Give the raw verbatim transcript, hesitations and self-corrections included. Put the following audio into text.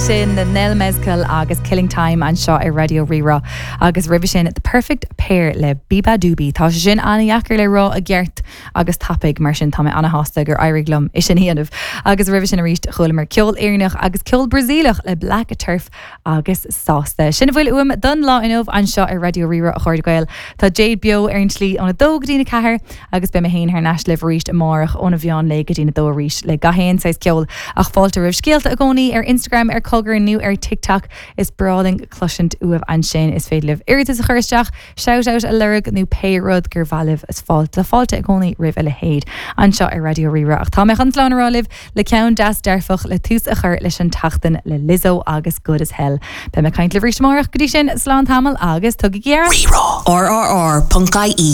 Ansin na Nell Mezcal agus Killing Time anseo ar Raidió Rí-Rá agus roimhe sin the Perfect Pair le Beabadoobee. Tá sé sin an-deacair le rá i gceart agus tapaidh mar sin tá mé an-sásta gur éirigh liom é sin a dhéanamh. agus roimhe sin arís chualamar ceol Éireannach agus ceol Brasaíleach le Black Turf agus sásta. Sin a bhfuil uaim don lá inniu anseo ar Raidió Rí-Rá a chairde Gael. Tá Jade beo ar an tslí óna dó go dtí a ceathair agus beidh mé féin thar n-ais libh arís amárach óna mheán lae go dtí a dó arís le gach aon saghas ceol ach fáilte roimh scéalta i gcónaí ar Instagram ar Cogar nó ar TikTok is breá linn cloisint uaibh ansin is féidir libh iarratas a chur isteach, shoutout a lorg nó pé rud gur mhaith libh is fáilte fáilte i gcónaí roimh a leithéid anseo ar Raidió Rí-Rá ach tá mé chun slán a rá libh le ceann deas dearfach le tús a chur leis an tseachtain le Lizzo agus Good as Hell. Beidh mé ag caint libh arís amárach go dtí sin slán tamall agus tugaigí aire. RRR.ie.